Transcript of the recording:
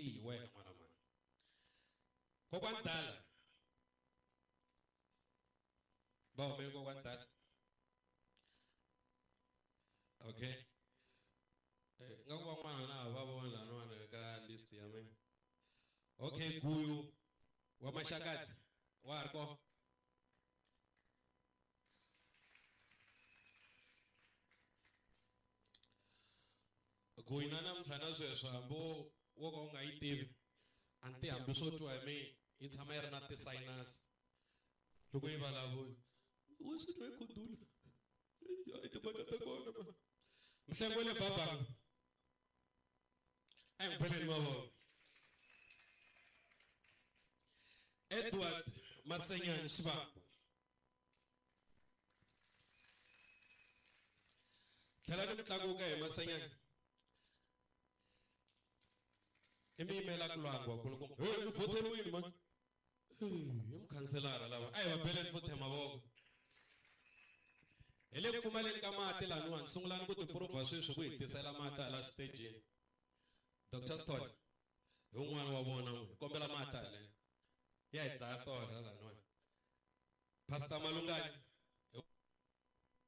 Tihi wena n'wana mani. Kokwani Dala. Va hume kokwani Dala. Okay. Nga ku van'wana na va vona laniwani ka list ya mina. Okay, Guyu wa Maxakadzi wa ha ri kona? Guyu na namuntlha na sweswi hambi wo ka u nga yi tivi a ni ti hambi swo twa hi mina yi tshama yi ri na ti-sinus loko yi vulavula wo swi twa yi khudula i timhaka ta kona ma mihlengo le babanga a hi n'wi beleni mavoko. Edward Masenyani Xivambu. Tlhela ni tlakuka hi Masenyani. I mi yimela ku lwangwa kulukumba. Hey, mi vhoteriwile mani. Hi mukhanselara lava. A hi va beleni futhi mavoko. Hi le ku pfumaleni ka mati laniwani, sungulani ku tiprova sweswi ku hi tisela mati hala xitejini. Dr. Stone, hi un'wana wa vona n'wi, hi kombela mati haleni. Ya hi dlaya torha laniwani. Pastor Malungani.